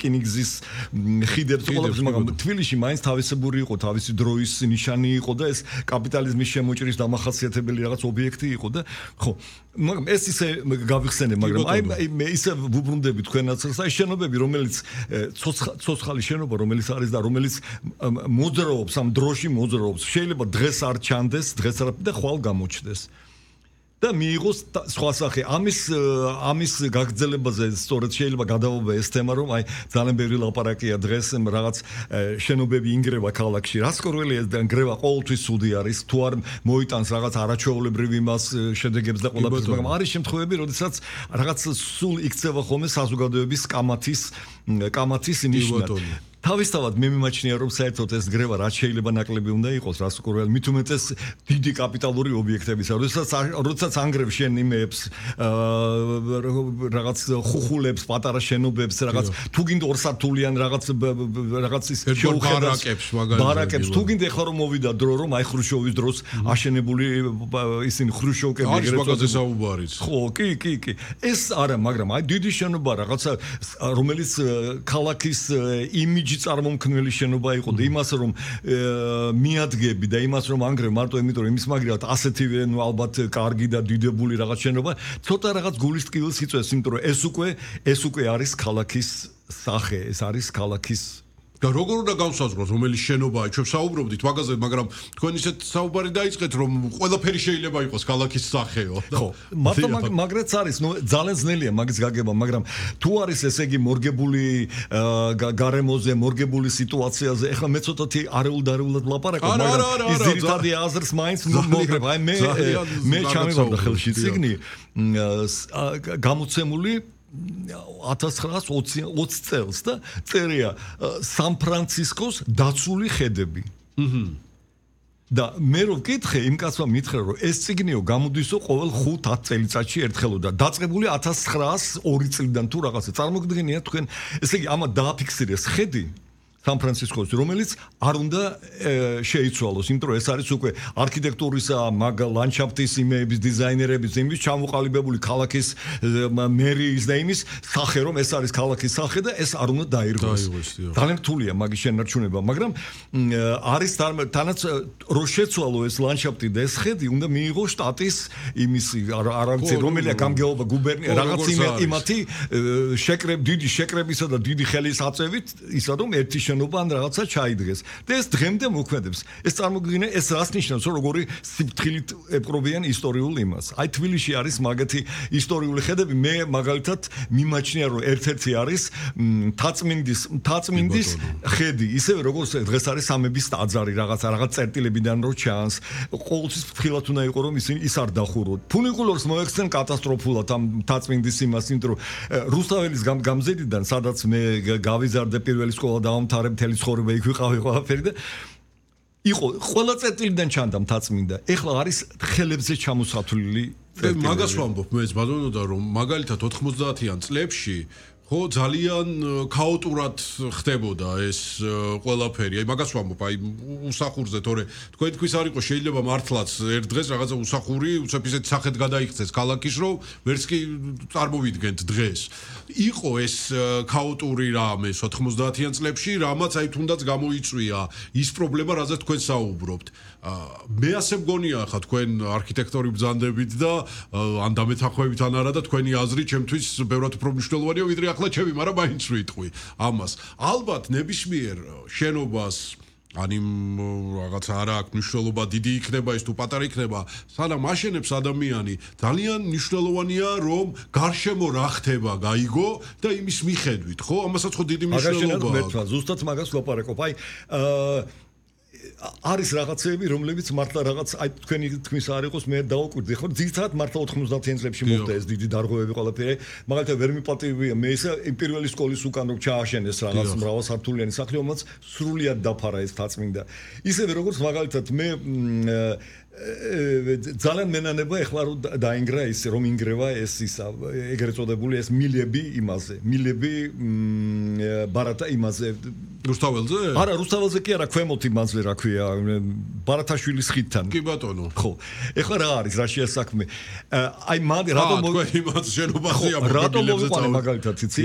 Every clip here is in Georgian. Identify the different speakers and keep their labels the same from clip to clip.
Speaker 1: რკინიგზის ხიდებს ყველაფერს, მაგრამ თბილისში მაინც თავისებური იყო, თავისი დროის ნიშანი იყო და ეს კაპიტალიზმის შემოჭრის დამახასიათებელი რაღაც ობიექტი იყო და ხო, მაგრამ ეს ისე გავიხსენე, მაგრამ აი მე ისე ვუბრუნდები თქვენაც, აი შენობები, რომელიც ცოცხალი შენობა, რომელიც არის და რომელიც მოძრაობს, ამ დროში მოძრაობს, შეიძლება დღეს არ ჩანდეს, დღეს არ და ხვალ გამოჩნდეს. და მიიღოს სხვა სახე. ამის გაგრძელებაზე სწორედ შეიძლება გადავობა ეს თემა, რომ აი ძალიან ბევრი ლაპარაკია დღეს რაღაც შენობები ინგრევა ქალაქში. რას კორველია და ინგრევა ყოველთვის ცუდი არის, თუ არ მოიტანს რაღაც არაჩვეულებრივ იმას შედეგებს და ყველაფერს, მაგრამ არის შემთხვევები, როდესაც რაღაც სულ იქცევა ხოლმე საზოგადოების კამათის ნიშნად. თავისთავად მე მიმაჩნია რომ საერთოდ ეს გრევა რაც შეიძლება ნაკლები უნდა იყოს რას უკროვალ მით უმეტეს დიდი კაპიტალური ობიექტებისა როდესაც ანგრევს შენ იმებს რაღაც ხუხულებს პატარა შენობებს რაღაც თუ გინდა ორსართულიან რაღაც ის ბარაკებს თუ გინდა ახლა რომ მოვიდა დრო რომ აი ხრუშოვის დროს აშენებული ისინი ხრუშოვკები
Speaker 2: ეგრეთ წოდებული
Speaker 1: ხო კი ეს არა მაგრამ აი დიდი შენობა რაღაცა რომელიც ქალაქის იმიჯი წარმომქმნელი შენობა იყო და იმას რომ მიადგები და იმას რომ ანგრევ მარტო იმიტომ რომ იმის მაგრად ასეთივე ნუ ალბათ კარგი და დიდებული რაღაც შენობა ცოტა რაღაც გულის ტკივილს იწვევს იმიტომ რომ ეს უკვე არის ქალაქის სახე ეს არის ქალაქის
Speaker 2: და როგორ უნდა გავსაზღვროთ რომელიც შენობაა ჩვენ საუბრობდით მაგაზე მაგრამ თქვენ ისეთ საუბარი დაიწყეთ რომ ყველაფერი შეიძლება იყოს ქალაქის სახეო
Speaker 1: ხო მაგრაც არის ნუ ძალიან ძნელია მაგის გაგება მაგრამ თუ არის ესე იგი მორგებული გარემოზე მორგებული სიტუაციაზე ეხლა მე ცოტათი არეულდარეულად ვლაპარაკობ მაგრამ ის ძირითადი აზრს მაინც მოგრებ აი მე ჩამივარდა ხელში წიგნი გამოცემული 1920 წელს და წერია სან-ფრანცისკოს დაცული ხედები. და მე რო ვკითხე იმ კაცმა მითხრა რომ ეს წიგნიო გამოდისო ყოველ 5-10 წელიწადში ერთხელოდა დაწყებული 1902 წლიდან თუ რაღაცა წარმოგიდგენია თქვენ ესე იგი ამა დააფიქსირეს ხედი სან-ფრანცისკოს რომელიც არ უნდა შეიცვალოს იმიტომ რომ ეს არის უკვე არქიტექტურისა მაგ ლანდშაფტის იმების დიზაინერების იმის ჩამოყალიბებული ქალაქის მერიის და იმის სახე რომ ეს არის ქალაქის სახე და ეს არ უნდა დაირღვეს ძალიან რთულია მაგის შენარჩუნება მაგრამ არის თანაც რო შეცვალო ეს ლანდშაფტი და ეს ხედი უნდა მიიღოს შტატის იმის არამცი რომელია გამგეობა გუბერნია რაღაც იმათი დიდი შეკრებისა და დიდი ხელისაწევით ისა რომ ერთი შენობა ან რაღაცა ჩაიდგეს და ეს დღემდე მოქმედებს ეს წარმოგიდგენია ეს რას ნიშნავს რომ როგორი სიფრთხილით ეპყრობიან ისტორიულ იმას აი თბილისში არის მაგათი ისტორიული ხედები მე მაგალითად მიმაჩნია რომ ერთ-ერთი არის თაწმინდის ხედი ისევე როგორც დღეს არის სამების ტაძარი რაღაც წერტილებიდან რო ჩანს ყოველთვის ფრთხილად უნდა იყოს რომ ის არ დახუროთ ფუნიკულორს მოექცენ კატასტროფულად ამ თაწმინდის იმას იმიტომ რომ რუსთაველის გამზედიდან სადაც მე გავიზარდე პირველი სკოლა დავამთავრე მთელი ცხოვრება იქ ვიყავი ყველაფერი და იყო ყველა წერტილიდან ჩანდა მთაწმინდა ეხლა არის ხელებზე ჩამოსათვლილი
Speaker 2: მაგას ვამბობ მეც ბატონო რომ მაგალითად 90-იან წლებში ხო ძალიან ქაოტურად ხდებოდა ეს ყველაფერი. აი მაგას ვამბობ, აი უსახურზე, თორე თქვენთვის არ იყო შეიძლება მართლაც ერთ დღეს რაღაცა უსახური, უცებ ისეთ სახედ გადაიქცეს ქალაქის, რომ ვერც კი წარმოვიდგენთ დღეს. იყო ეს ქაოტური რამე 90-იან წლებში, რამაც აი თუნდაც გამოიწვია ის პრობლემა, რაზეც თქვენ საუბრობთ. მე ასე მგონია ხა თქვენ არქიტექტორი ბრძანდებით და ან დამეთანხმებით ან არა და თქვენი აზრი ჩემთვის ბევრად უფრო მნიშვნელოვანია ვიდრე ახლა ჩემი, მაგრამ მაინც ვიტყვი ამას. ალბათ ნებისმიერ შენობას ან იმ რაღაცა არა აქვს მნიშვნელობა დიდი იქნება ის თუ პატარა იქნება, სანამ აშენებს ადამიანი, ძალიან მნიშვნელოვანია რომ გარშემო რა ხდება, გაიგო და იმის მიხედვით, ხო? ამასაც ხო დიდი მნიშვნელობა აქვს.
Speaker 1: ზუსტად მაგას ვლაპარაკობ. აი არის რაღაცები, რომლებიც მართლა რაღაც აი თქვენი თქმის არ იყოს, მე დავაკვირდი, ხო? ძირითადად მართლა 90-იან წლებში მოხდა ეს დიდი დარღვევები ყველაფერი. მაგალითად ვერ მიპატივია მე ისე იმპერიალური სკოლის უკან რომ ჩააშენეს რაღაც მრავალსართულიანი სახლი, რომელიც სრულიად დაფარა ეს თაწმინდა. ისევე როგორც მაგალითად მე ძალიან მენანება ეხლა რომ დაინგრა ის რომ ინგრევა ეს ისა ეგრეთ წოდებული ეს მილები იმაზე მილები ბარატა იმაზე
Speaker 2: რუსთაველზე?
Speaker 1: არა, რუსთაველზე კი არა, ქვემოთ იმაზე რა ქვია, ბარათაშვილის ხიდთან.
Speaker 2: კი ბატონო.
Speaker 1: ხო. ეხლა რა არის, რა შეასაქმე? აი რატომ
Speaker 2: თქვენ იმას შენობაზეა
Speaker 1: რატომ მოვიყვანე მაგალითად, იცი?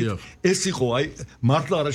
Speaker 1: ეს იყო აი მართლა